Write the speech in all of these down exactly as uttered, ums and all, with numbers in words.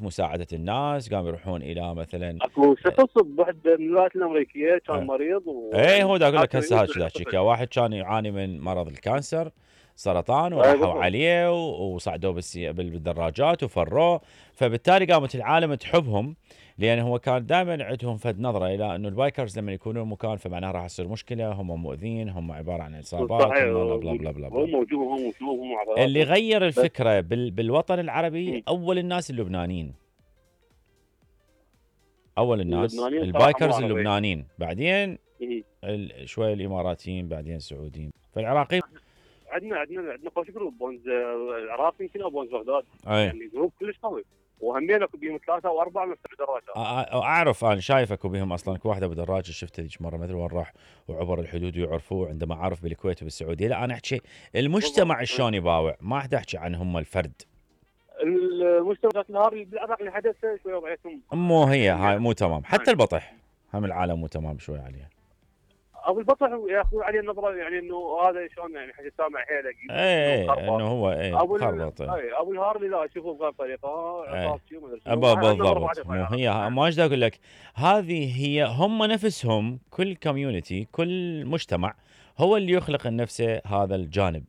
خدمات مساعدة الناس، قاموا يروحون إلى مثلا اكو شخص بوحده من الولايات الامريكيه كان آه. مريض و ايه هو دا اقول لك هسه هاك احكي واحد كان يعاني من مرض الكانسر سرطان، أي وراحوا بالضبط. عليه وصعدوه بالسي- بالدراجات وفروه. فبالتالي قامت العالم تحبهم، لان هو كان دائما عندهم فد نظره الى انه البايكرز لما يكونون مكان فمعناها راح تصير مشكله، هم مؤذين، هم عباره عن عصابات، صحيح، هم بلا بلا بلا بلا هم بلا. وجوههم وشوفهم اللي وعضلاتهم. غير بس الفكره بال بالوطن العربي مم. اول الناس اللبنانيين، اول الناس اللبنانيين صراحه مو البايكرز عربي. اللبنانيين، بعدين مم. ال- شويه الاماراتيين، بعدين السعوديين، فالعراقيين. عندنا عندنا عندنا خوش جروب بونز آه، العراق يمكن او بونز بغداد، اي يعني جروب كلش قوي، وهمين اكو بيهم ثلاثه او اربعه من الدراجات. أ- أ- اعرف انا شايف اكو بهم اصلا اكو واحده بدراجه شفتها ذيك مره ما ادري وين راح وعبر الحدود ويعرفوه عندما عرف بالكويت وبالسعوديه. لا انا احكي المجتمع بالضبط. شلون يباوع، ما احد احكي عن هم الفرد. المجتمعات النهار بالعراق اللي حدث شويه وضعيتهم مو هي هاي يعني مو تمام، حتى البطح هم العالم مو تمام شوي عليها. ابو البطح ياخذون عليه النظره، يعني انه هذا شلون يعني حاجه سامع حيله اي اي انه هو اي ابو ال- خربط. اي ابو الهارلي لا اشوفه بغير طريقه عقاب شيء ما ادري شنو. أبا هاي النظرة بالضبط، بعدها مو طالعة. هي ما ايش اقول لك، هذه هي هم نفسهم، كل كوميونتي كل مجتمع هو اللي يخلق لنفسه هذا الجانب.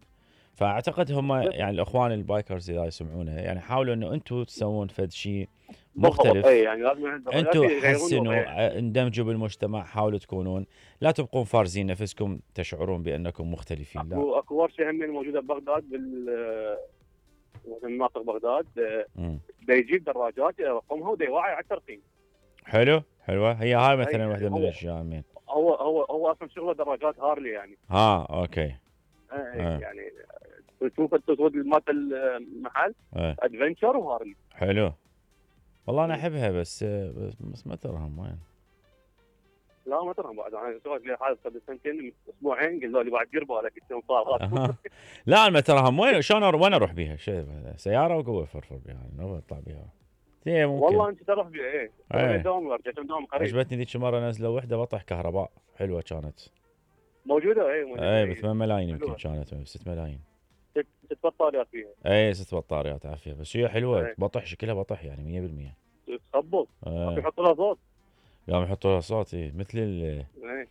فاعتقد هم يعني الاخوان البايكرز اذا يسمعونه يعني حاولوا انه انتم تسوون فد شيء مختلف، اي يعني لازم انتم حسنوا اندمجوا بالمجتمع، حاولوا تكونون لا تبقون فارزين نفسكم تشعرون بانكم مختلفين. لا اكو اكو ورشه هم موجوده ببغداد بال مناطق بغداد، دا يجيب دراجات يرقمها ودا يوعي على الترقيم. حلو حلوه هي هاي مثلا واحده من الاشياء. مين هو هو هو اصلا شغله دراجات هارلي يعني. ها اوكي. آه. يعني تشوف التسود مالت المحل آه. ادفنشر وهارلي. حلو والله انا احبها، بس بس ما ترهم وين. لا ما ترهم بعد، انا سويت لي حادث قبل سنتين اسبوعين قالوا لي بعد دير بالك انت صار. لا ما ترهم وين، شلون وين اروح بيها؟ شيء سياره وقوه فرفر بها يعني اطلع بيها. والله انت تروح بيها ايه. ايه دوام ورجع دوام قريب. عجبتني ذيك المره نزلوا وحده بطح كهرباء حلوه كانت موجوده. ايه موجوده ايه ب ثمان ملايين يمكن كانت ست ملايين. ست بطاريات فيها. ايه ست بطاريات عافيه، بس هي حلوه ايه. بطح شكلها بطح يعني مية بالمية. تخبط. ايه. يحطوا لها صوت. قام يحطوا لها صوت ايه مثل ال ايه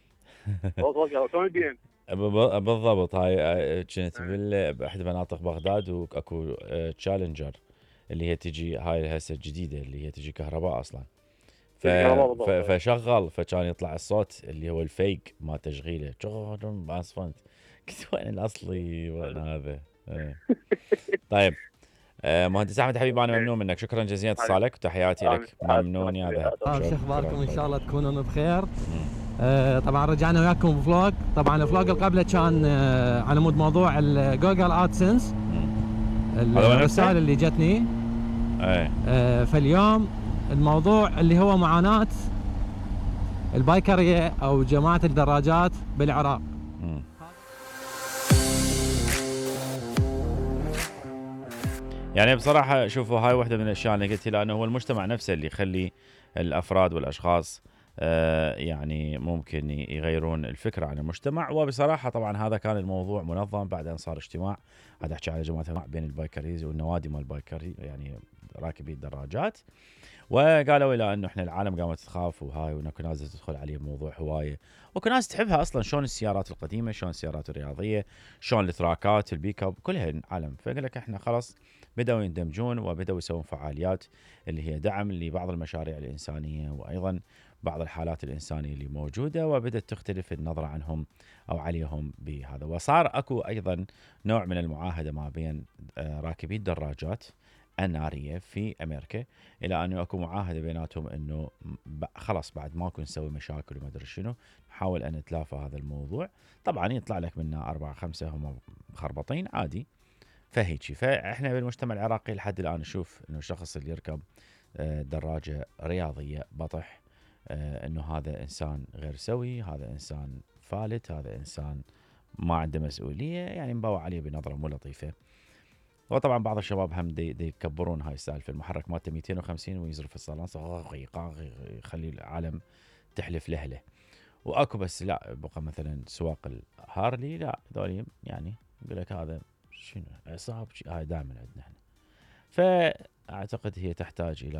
صوت شلون البي ام. بالضبط. هاي كنت باحد مناطق بغداد واكو تشالنجر اللي هي تجي هاي هسه الجديده اللي هي تجي كهرباء اصلا. ف... ف... فشغل فكان يطلع الصوت اللي هو الفيك ما تشغيله اسفنت. قلت وين الاصلي وين هذا. طيب آه مهندس احمد حبيبي انا ممنون منك، شكرا جزيلا اتصالك وتحياتي لك. ممنون يا ذهب. شو اخباركم؟ ان شاء الله تكونون بخير. آه طبعا رجعنا وياكم بفلوج. طبعا الفلوج اللي قبله كان آه على مود موضوع الجوجل ادسنس، الرسائل اللي جتني. آه فاليوم الموضوع اللي هو معاناة البايكرية او جماعة الدراجات بالعراق. يعني بصراحة شوفوا هاي واحدة من الأشياء اللي قلت لأنه هو المجتمع نفسه اللي يخلي الأفراد والأشخاص آه يعني ممكن يغيرون الفكرة عن المجتمع. وبصراحة طبعا هذا كان الموضوع منظم بعد أن صار اجتماع، هذا أحكي على جماعة بين البايكريز والنوادي مال البايكري يعني راكبي الدراجات، وقالوا إلى أنه إحنا العالم قامت تخاف وهاي وإنكو ناس تدخل عليه موضوع هواية وكو ناس تحبها أصلا، شلون السيارات القديمة، شلون السيارات الرياضية، شلون التراكات البيك اب كلها العالم. فقال لك إحنا خلاص بدأوا يندمجون وبدأوا يسوون فعاليات اللي هي دعم لبعض المشاريع الإنسانية وأيضا بعض الحالات الإنسانية اللي موجودة، وبدأت تختلف النظرة عنهم أو عليهم بهذا. وصار أكو أيضا نوع من المعاهدة ما بين راكبي الدراجات النارية في أمريكا، إلى أنه أكو معاهدة بيناتهم أنه خلاص بعد ماكو نسوي مشاكل وما أدري شنو، نحاول أن نتلافى هذا الموضوع. طبعا يطلع لك منا أربعة خمسة هم مخربطين عادي فهيجي. فإحنا بالمجتمع العراقي لحد الآن نشوف أنه الشخص اللي يركب دراجة رياضية بطح أنه هذا إنسان غير سوي، هذا إنسان فالت، هذا إنسان ما عنده مسؤولية، يعني مباوع عليه بنظرة مو لطيفة. وطبعا بعض الشباب هم دي, دي يكبرون هاي السالفة، المحرك مالته مئتين وخمسين ويزرف الصالونس يخلي العالم تحلف لهله. واكو بس لا بقى مثلا سواق الهارلي لا ذولي يعني يقول لك هذا شنو عصاب هاي دائما عندنا احنا. فاعتقد هي تحتاج الى